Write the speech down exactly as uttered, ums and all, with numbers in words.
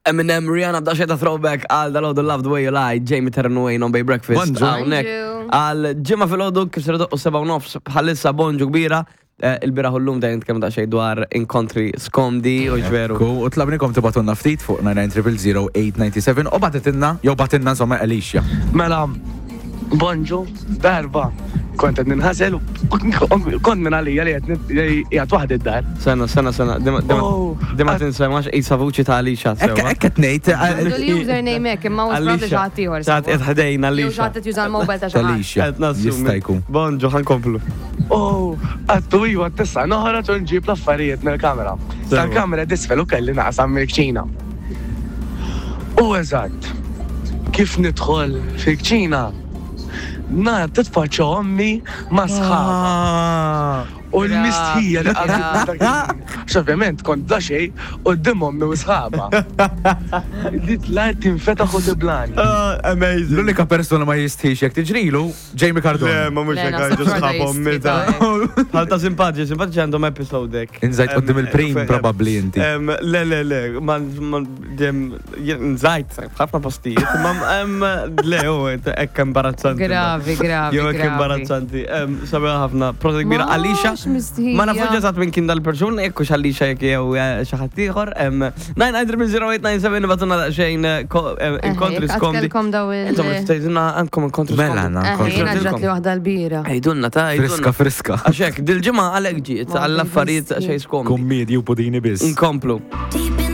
Eminem, Rihanna, bda xeta throwback għal dal-għodu Love the Way You Lie, Jamie Terran Wayne on Bay Breakfast. Bonġu. Hawnhekk. Bonġu. Għal ġimma fil-għodu kif ser u seba' u nofs bħalissa bonġu kbira. Eh, Il-biraħ u l-lum dejjem nitkellmu daqsxejn dwar inkontri skomdi u ġveru. Ku, u tlabnikom tibatunna ftit fuq nine nine zero zero eight nine seven u bagħtitilna, jew bagħtitilna insomma Alicia. Mela, bonġu, darba, kont qed ninħasel u kont minn għalija li qed qiegħed waħdi d-dar. Sena, sena, sena, dima Oh, dima tinsemax isa vuċi ta' Alicia. Ekk sewwa. ekk qed ngħid Għandu l-username hekk, imma mhux probabbli xi ħadd ieħor. Xi ħadd qed ħdejn Jew Alicia. xi ħadd qed juża l-mobile ta' xi ħadd. Alicia. Qed nassumi. Jista' jkun. Bonġu, ħa nkomplu. U għattu iwa tissa noħroġ u nġib l-affarijiet mill-kamera. Tal-kamera disfel u kelli naqsam mill-kċina. U eżatt, kif nidħol fil-kċina, nara titfaċċa ommi ma' sħabha. Ah. U l-mistħija li qabżitni dak il-ħin. Għax ovvjament kont bla xejn quddiem ommi u sħabha. Li tlajt tinfetaħ u tiblani. Ah, amazing. L-unika persona ma jistħix jekk tiġrilu, Jamie Cardone. Le, ma mux Le, hekk naħseb għajdu xorta sħab ommi jistħi ta' ta' Bħal ta' simpatiċi, simpatiċi għandhom episode hekk. Inżajt Em, quddiem il-prim fe- probabbli inti. em, Le, le, le, ma ma dem jien nżajt f'ħafna postijiet, ma em, le, u hekk imbarazzanti. Gravi, gravi, Jew hekk gravi. imbarazzanti. Em, Sabiħa ħafna, prosa kbira. Ma, Alicia, x'mistħija. ma nafux eżatt minn kien dal-persuna, jekk hux Alicia jekk jew eh, xi ħadd ieħor. Em, nine nine zero zero eight nine seven bagħtulna daqsxejn eh, ko- em, inkontri Eħe, skomdi. għatkelkom daw il- Insomma, tgħidulna għandkom inkontri Mela, skomdi. għandna Eħe, inkontri. jiena ġrat li waħda l-bira. Għidulna ta' Friska, għidulna. friska. Għaxek, dil-ġimgħa għalek ġiet Ma għall-affarijiet biss. xejn skomdi. Kummedi u pudini biss. Inkomplu. Deep